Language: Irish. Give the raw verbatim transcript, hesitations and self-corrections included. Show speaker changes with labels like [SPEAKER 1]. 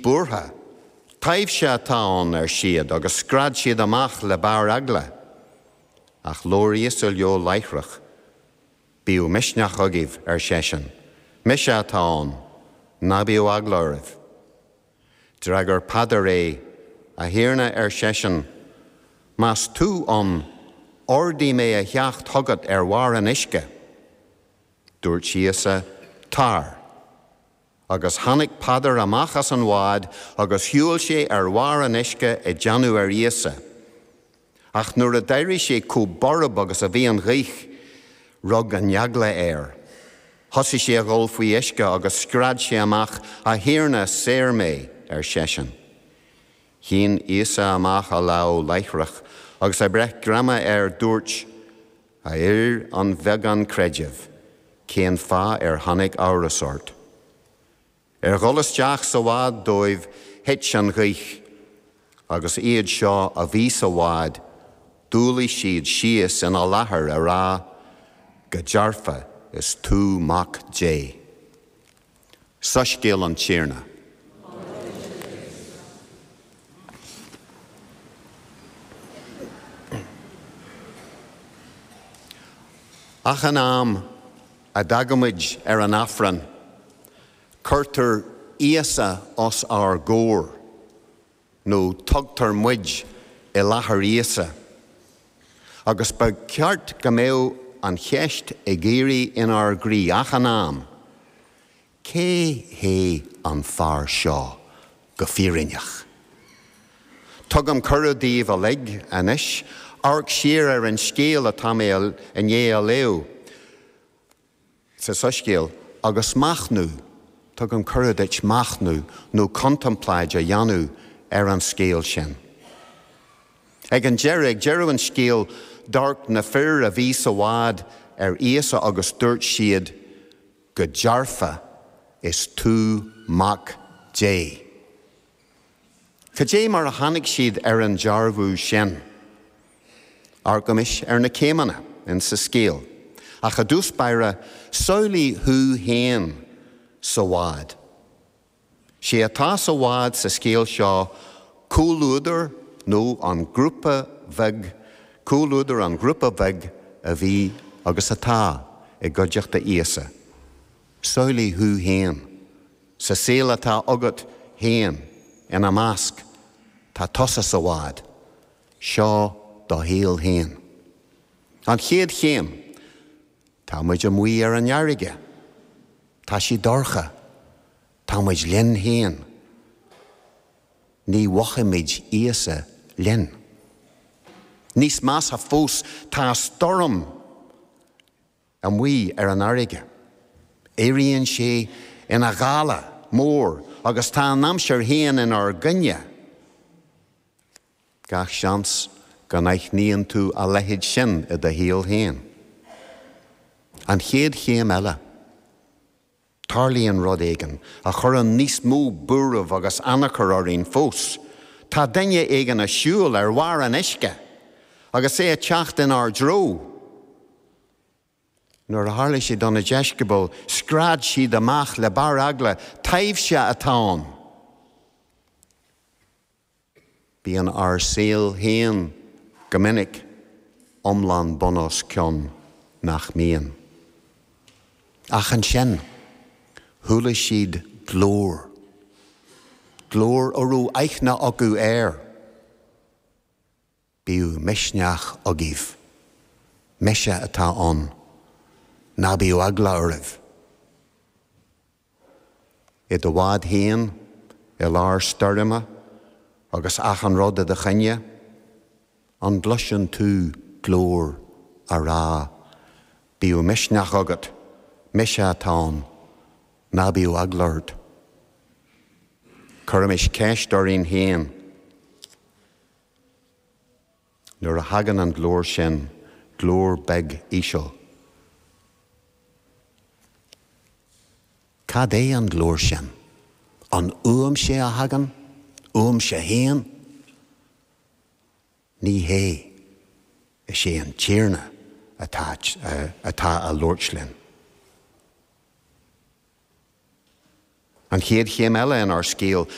[SPEAKER 1] siad buartha. Taibhse atá ann, ar siad, agus scread siad amach le barr eagla. Ach labhair Íosa leo láithreach. Bíodh misneach agaibh, ar seisean. Mise atá ann. Ná bíodh eagla oraibh. D'fhreagair Peadar é, A Thiarna, ar seisean, más tú ann, ordaigh mé a theacht chugat ar bharr an uisce. Dúirt Íosa, Tar. Agus tháinig Peadar amach as an bhád agus shiúil sé ar bharr an uisce ag déanamh ar Íosa. Ach nuair a d'airigh sé chomh borb agus a bhí an ghaoth, rug an eagla air. Thosaigh sé a dhul faoi uisce agus scread sé amach, A Thiarna, saor mé, ar seisean. Shín Íosa amach a lámh láithreach agus ag breith greama air dúirt, A fhir an bheagáin creidimh, cén fáth ar tháinig amhras ort? Ar dhul isteach sa bhád dóibh thit an ghaoth, agus iad seo a bhí sa bhád, d'umhlaigh siad síos ina láthair á rá, Go dearfa is tú Mac Dé. Soiscéal an Tiarna. Achan am a dtagaimid ar an Aifreann, cuirtear Íosa os ár gcomhair, nó tugtar muid i láthair Íosa. Agus ba cheart go mbeadh an cheist ag éirí inár gcroí achan am, Cé hé an fear seo go fírinneach? Tugaim cuireadh daoibh uilig anois amharc siar ar an scéal atá mé i ndiaidh a léamh sa Soiscéal agus machnamh, tugaim cuireadh duit machnamh nó contempláid a dhéanamh ar an scéal sin. Ag an deireadh, ag deireadh an scéil, d'amharc na fir a bhí sa bhád ar Íosa agus dúirt siad, Go dearfa, is tú Mac Dé. Cad é mar a tháinig siad ar an dearbhú sin? Amharcaimis ar na céimeanna in sa scéal. Ach i dtús báire, samhlaigh thú féin sa bhád. Sé atá sa bhád sa scéal seo comhluadar nó an grúpa bheag, comhluadar an ghrúpa bhig a bhí agus atá i gcuideachta Íosa. Samhlaigh thú féin sa saol atá agat féin ina measc. Tá tusa sa bhád. Seo do shaol féin. An chéad chéim, tá muid amuigh ar an fharraige. Tá sé dorcha. Tá muid linn féin. Ní mhothaímid Íosa linn. Níos measa fós, tá stoirm amuigh ar an fharraige. Éiríonn sé ina ghála mór agus tá an aimsir féin inár gcoinne. Gach seans go n-aithníonn tú a leithéid sin i do shaol féin. An chéad chéim eile, tarlaíonn rud éigin a chuireann níos mó buairimh agus anacair orainn fós. Tá duine éigin ag siúl ar bharr an uisce agus é ag teacht inár dtreo. Nuair a tharla sé do na deisceabail, scread siad amach le barr eagla, Taibhse atá ann! Bíonn ár saol féin go minic iomlán bun os cionn, nach mbíonn? Ach ansin, chuala siad glór. Glór a raibh aithne acu air. Bíodh misneach agaibh. Mise atá ann. Ná bíodh eagla oraibh. I do bhád féin, i lár stoirme, agus achan rud i do choinne, an gcloiseann tú glór á rá, Bíodh misneach agat, mise atá ann, ná bíodh eagla ort? Cuirimis ceist orainn féin. Nuair a thagann an glór sin, glór beag íseal, cad é an glór sin? An uaimse a thagann? Uaimse féin? Ní hé. Is é an Tiarna atá atá a labhairt linn. An chéad chéim eile inár scéal,